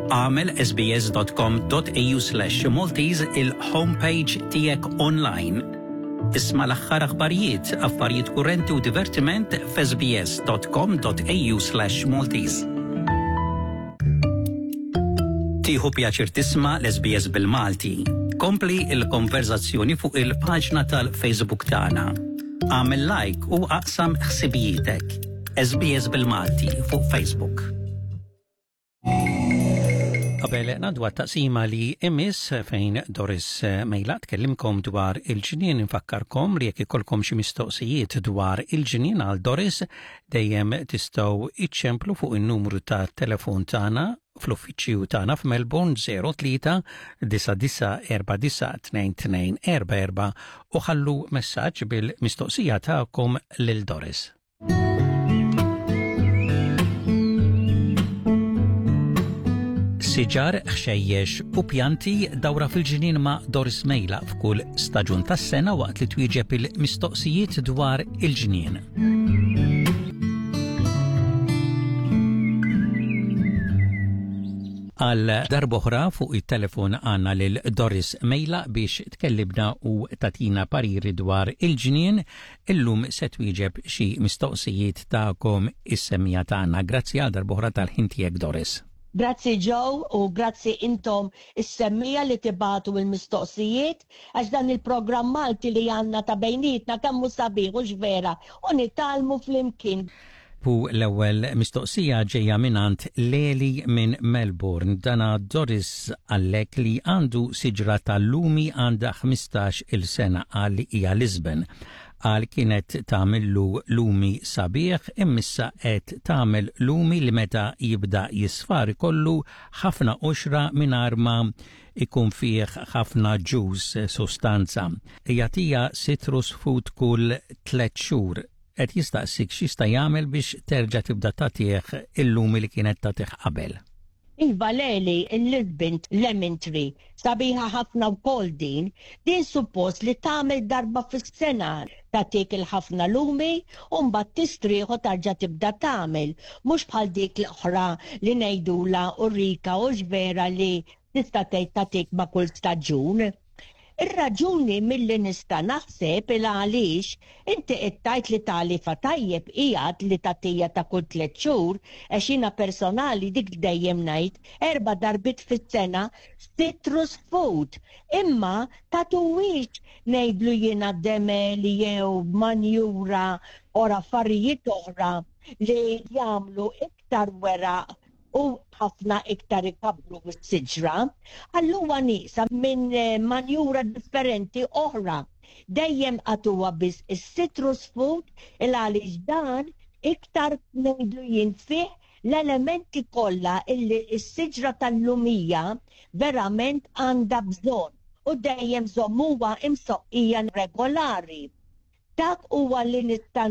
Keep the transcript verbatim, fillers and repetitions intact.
Agħmel sbs dot com dot A U slash Maltese il-homepage tiegħek online. Isma' l-aħħar aħbarijiet, affarijiet kurrenti u divertiment f'sbs dot com dot A U slash Maltese. Tieħu pjaċir tisma' l-S B S bil-Malti. Kompli il-konverzazzjoni fuq il-paġna tal-Facebook tagħna. Agħmel like u aqsam ħsibijietek. S B S bil-Malti fuq Facebook. Qabel ngħaddu għat-taqsima li imiss fejn Doris Mejla tkellimkom dwar il-ġnien, infakkarkom li jekk ikollkom xi mistoqsijiet dwar il-ġnien għal Doris, dejjem tistgħu iċċemplu fuq in-numru ta' telefon tagħna fl-uffiċċju tagħna f'Melbourne zero tlieta disa' disa' erba' disa' tnejn tnejn erba' erba' u ħallu messaġġ bil-mistoqsija tagħkom lil Doris. Siġar, ħxejjex u pjanti, dawra fil-ġnien ma' Doris Mejla f'kull staġun tas-sena waqt li twieġeb il-mistoqsijiet dwar il-ġnien. Għal darb'oħra fuq it-telefon għandna lil Doris Mejla biex tkellimna u tagħtina pariri dwar il-ġnien. Illum se twieġeb xi mistoqsijiet tagħkom is-semmiegħa tagħna. Grazzi għal darb'oħra tal-ħin tiegħek, Doris. Grazzi Joe u grazzi intom is-semmiegħa li tibagħtu il-mistoqsijiet, għax dan il-programm Malti li għandna ta' bejnietna kemm hu sabiħ u vera u nitgħallmu flimkien. U l-ewwel mistoqsija ġejja mingħand Leli minn Melbourne. Dana Doris għallek li għandu siġra tal-lumi għandha ħmistax il-sena, qal li hija Lisbon. Qal kienet tagħmillu lumi sabiħ, imma issa qed tagħmel lumi li meta jibda jisfar ikollu ħafna qoxra mingħajr ma ikun fih ħafna juice, sostanza. Jagħtiha citrus food kull tliet xhur. Qed jistaqsik x'jista' jagħmel biex terġa' tibda tagħtih il-lumi li kienet tagħtih qabel. Iva Leli, il-Lisbon Lemon Tree, sabiħa ħafna wkoll din, din suppost li tagħmel darba fis-sena tagħtik il-ħafna lumi u mbagħad tistrieħ u tarġa' tibda tagħmel, mhux bħal dik l-oħra li ngħidula Eureka u vera li tista' tgħid tagħtik ma' kull staġun. Ir-raġuni milli nista' naħseb il għaliex inti qed tgħid li tagħlifa tajjeb qiegħed li tagħtija ta' kull tliet xhur, għax jiena personali dik dejjem ngħid erba' darbiet fis-sena citrus food. Imma tagħtuhiex, ngħidlu jiena, demel jew manjura or affarijiet oħra li jagħmlu iktar weraq u ħafna iktar ikabru s-siġra, allura nieqsa minn eh, manjura differenti oħra. Dejjem agħtuha biss is-citrus food il għaliex dan iktar, ngħidlu jien, fih l-elementi kollha illi s-siġra tal-lumija verament għandha bżonn u dejjem żommuha imsoqqija regolari. Dak huwa li nista'